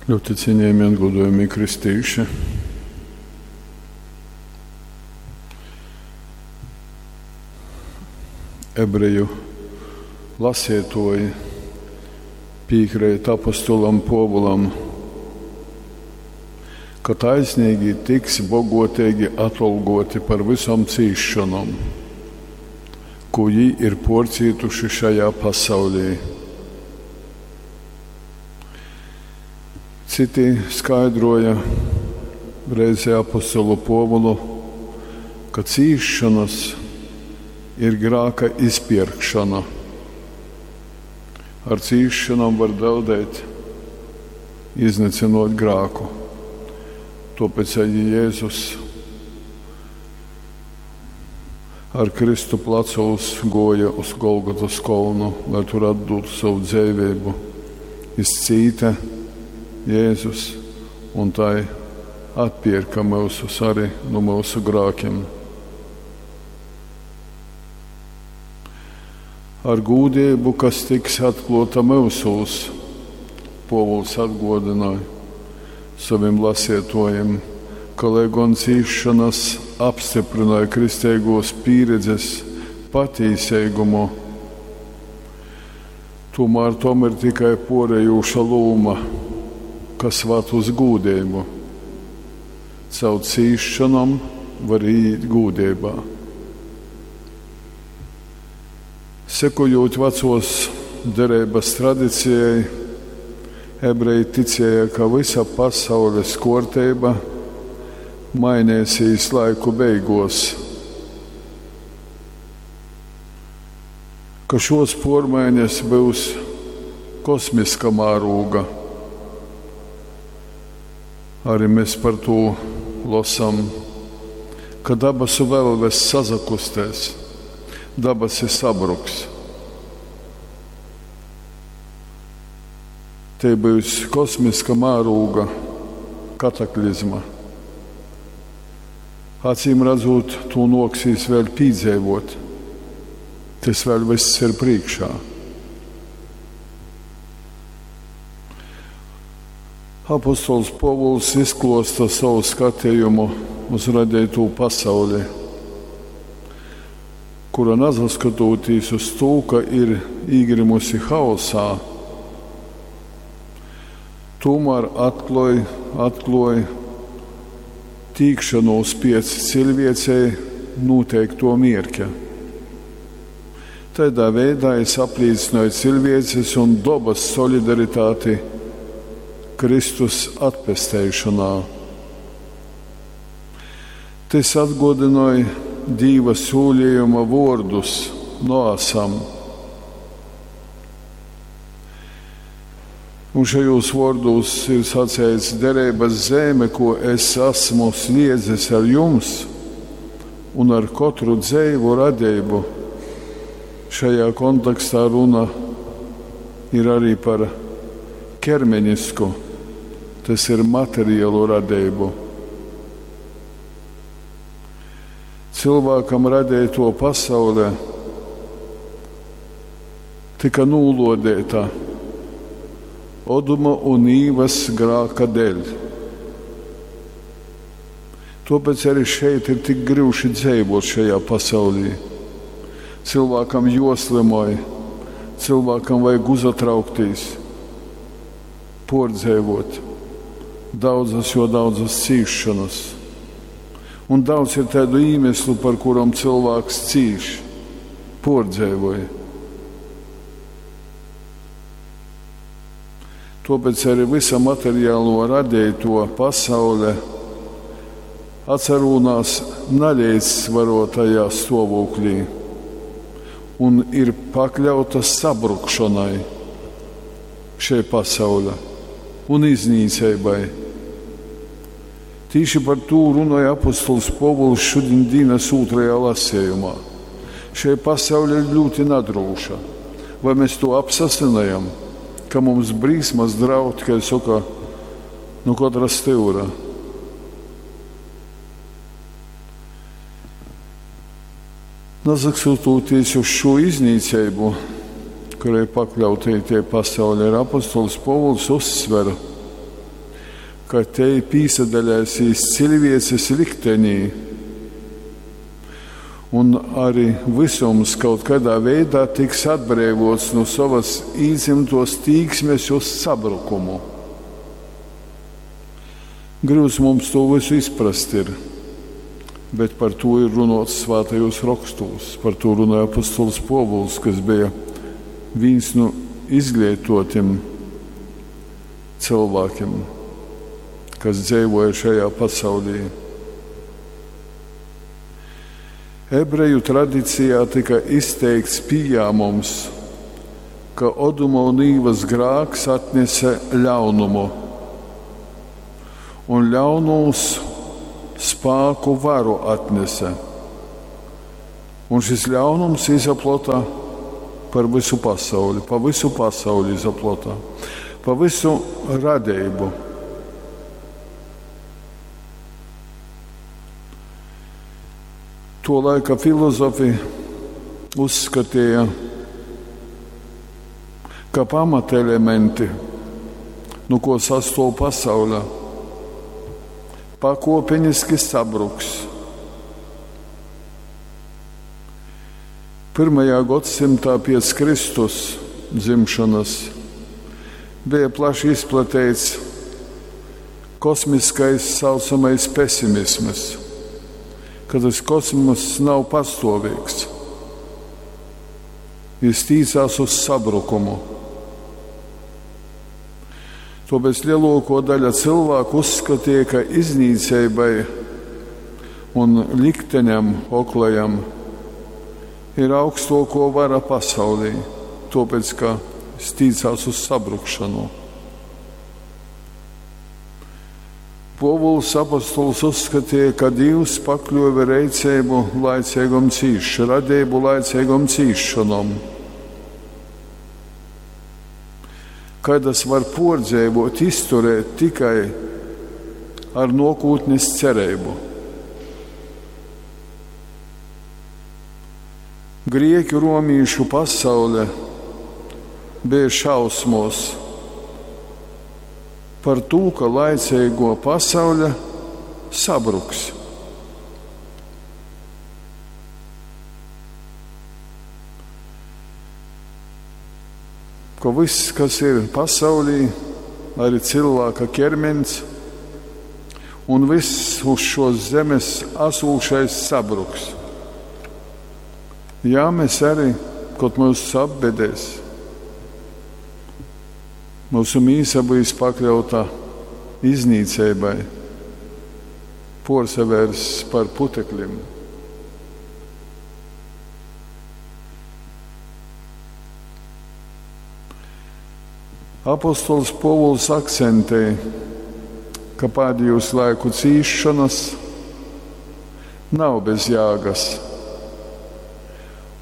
Ļoti cienījami un godojami kristīši. Ebreju lasietoji piekrīt apostolam Povulam, ka taisnīgi tiks bogotīgi atolgoti par visom cīšanom, ko jī ir porcītuši šajā pasaulī. Citi skaidroja reizē apostolu Povulu, ka cīšanas ir grāka izpirkšana. Ar cīšanām var draudēt, iznīcinot grāku. Tāpēc arī Jēzus ar Kristu plecos goja uz Golgotas kolnu, lai tur atdotu savu dzīvību. Izcīta Jēzus un tai atpirka mūsus arī no mūsu grākiem. Ar gūdību, kas tiks atklāta mūsos, Povuls atgodināja saviem lasietojiem, ka, lai gan cīšanas apstiprināja kristīgos pieredzes patīsīgumu, tomēr tom ir tikai porējoša lūma, kas vad uz gūdību. Caur cīšanām var iet gūdībā. Sekojot vecos derības tradicijai, ebreji ticēja, ka visa pasaules kārtība mainīsies laiku beigos, ka šos pormaiņas būs kosmiska mārūga. Arī mēs par to lasām, ka dabasu velves sazakustēs, dabasi sabruks. Te būs kosmiska mārūga, kataklizma. Acīm redzot, to noksīs vēl pīdzīvot. Tas vēl viss ir priekšā. Apostols Povuls izklosta savu skatījumu uz radīto pasauli, kura nesaskatoties uz to, ka ir īgrimusi haosā, tomēr atklāja tīkšanos pēc cilvēcei noteikto mierķa. Tādā veidā es apliecināju cilvēces un dabas solidaritāti Kristus atpesteišanā. Tas atgodināja Dīva sūlījuma vārdus Noasam. Un šajos vārdos ir sacīts derības zeme, ko es esmu sniedzis ar jums un ar katru dzīvu radību. Šajā kontekstā runa ir arī par ķermenisku, tas ir materiālu radību. Cilvēkam radīto pasaulē tika nūlodēta Oduma un Īvas grāka dēļ. Tāpēc arī šeit ir tik grūti dzīvot šajā pasaulī. Cilvēkam joslimoja, cilvēkam vajag uzatraukties, pordzēvot daudzas, jo daudzas cīšanas. Un daudz ir tādu iemeslu, par kurām cilvēks cīš, pordzēvoja. Tāpēc arī visa materiālo radīto pasaule atcerūnās nelīdzsvarotajā stāvoklī un ir pakļauta sabrukšanai šai pasaule un iznīcībai. Tieši par to runāja apostols Povuls šodien dienas otrajā lasījumā. Šai pasaule ir ļoti nedroša. Vai mēs to apsasinājam, ka mums brīsmas draud, kā saka, no katra stūra? Nasaskatoties uz šo iznīcību, kurai pakļauti tie pasauli ir apostols Povuls uzsver, ka tei pīsadalēsīs ciļviecis liktenī, un ari vysums kaut kaidā veidā tiks atbreivuots nu sovys īdzymtuos tīksmis uz sabrukumu. Gryuts mums tū vysu izprast ir, bet par tū ir runuots Svātajūs Rokstūs. Par tū runoja apostols Puovuls, kas beja vīns nu izgleituotim cylvākim, kas dzeivuoja šajā pasaulī. Ebreju tradicijā tyka izteikts pījāmums, ka Oduma un Īvas grāks atnese ļaunumu un ļaunūs spāku varu atnese. Un šis ļaunums izaplota par vysu pasauli, pa vysu pasauli izaplota, pa vysu radeibu. Tuo laika filozofi uzskateja, ka pamatelementi, nu kuo sastuov pasaule, pakuopeniski sabruks. Pyrmajā godsymtā piec Kristus dzimšonys beja plaši izplateits kosmiskais saucamais pesimisms, ka tys kosmoss nav pastuoveigs, jis tīcās uz sabrukumu. Tuopēc leluokuo daļa cylvāku uzskateja, ka iznīceibai un likteņam oklajam ir augstuokuo vara pasaulī, tuopēc ka jis tīcās uz sabrukšonu. Puovuls apostols uzskateja, ka Dīvs pakļuove reiceibu laiceigom cīš, radeibu laiceigom cīsšonom, kaidas var puordzeivuot, izturēt tikai ar nuokūtnis cereibu. Grieķu romīšu pasaule beja šausmuos par tū, ka laiceiguo pasaule sabruks. Ka vyss, kas ir pasaulī, arī cylvāka ķermeņs un vyss uz šuos zemes asūšais sabruks. Jā, mēs arī, kod myusus apbedēs, myusu mīsa byus pakļauta iznīceibai, puorsavērss par puteklim. Apostols Puovuls akcentej, ka pādejūs laiku cīsšonys nav bez jāgys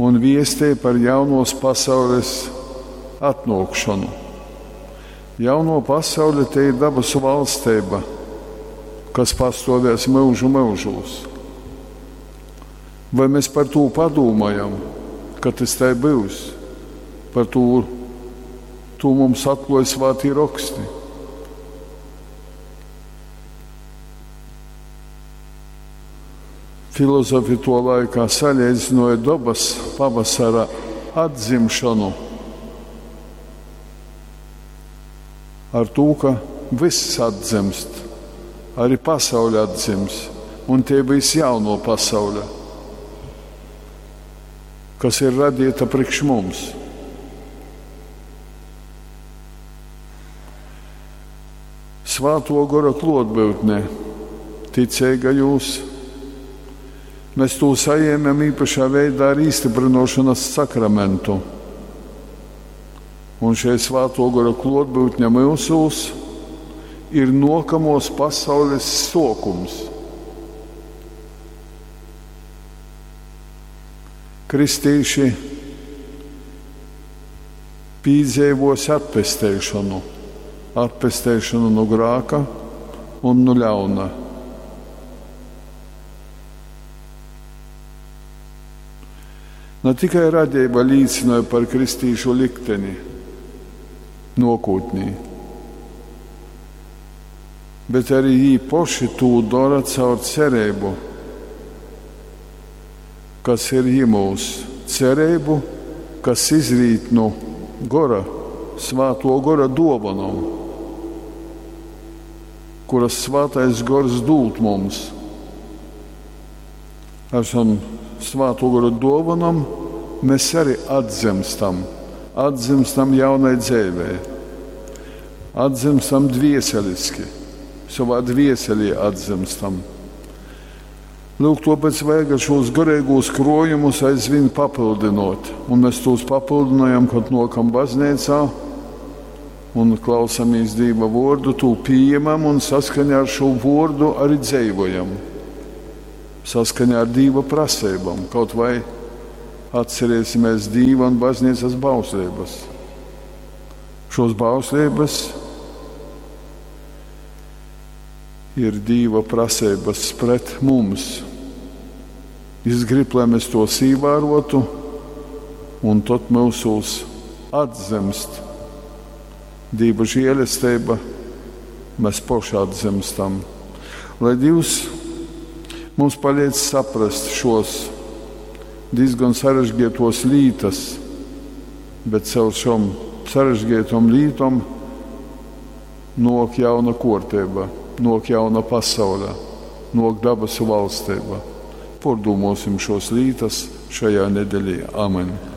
un viestej par jaunuos pasaulis atnuokšonu. Jaunuo pasaule tei ir dabasu valsteiba, kas pastuovēs myužu myužūs. Voi mes par tū padūmojam, ka tys tai byus? Par tū, tū mums atkluoj Svātī Roksti. Filozofi tuo laikā saleidzynuoja dobys pavasara atdzimšonu ar tū, ka vyss atdzymst, arī pasaule atdzims, un tei byus jaunuo pasaule, kas ir radīta priekš mums. Svātuo Gora kluotbyutne ticeigajūs, mēs tū sajēmem īpašā veidā ar īstyprynuošonys sakramentu. Un šei Svātuo Gora kluotbyutne myusūs ir nuokamuos pasaulis suokums. Kristīši pīdzeivuos atpesteišonu, atpesteišonu nu grāka un nu ļauna. Ne tikai radeiba līcynoj par kristīšu likteni nuokūtnī, Bet arī jī poši tū dora caur cereibu, kas ir jimūs, cereibu, kas izrīt nu gora, svāto gora duovanom, kuras svātais gors dūd mums. Ar šom svāto gora duovanom mēs arī atdzimstam, atdzimstam jaunai dzeivei, atdzimstam dvieseliski, savā dvieselī atdzimstam. Lūk, tāpēc vajag šos garīgos krojumus aizvien papildinot, un mēs tos papildinājam, kad nokam baznīcā un klausamies Dieva vārdu, to pieņemam un saskaņā ar šo vārdu arī dzīvojam. Saskaņā ar Dieva prasībām, kaut vai atcerēsimies Dieva un baznīcas bauslības. Šos bauslības ir Dieva prasības pret mums. Viņš grib, lai mēs tos ievērotu, un tad mūsos atzemst Dieva žēlastība, mēs paši atzemstam. Lai Dievs mums palīdz saprast šos diezgan sarežģītos lītas, bet caur šom sarežģītom lītom nok jauna kārtība, nok jauna pasaule, nok dabasu valstība. Pārdomāsim šos lītas šajā nedēļā. Amen!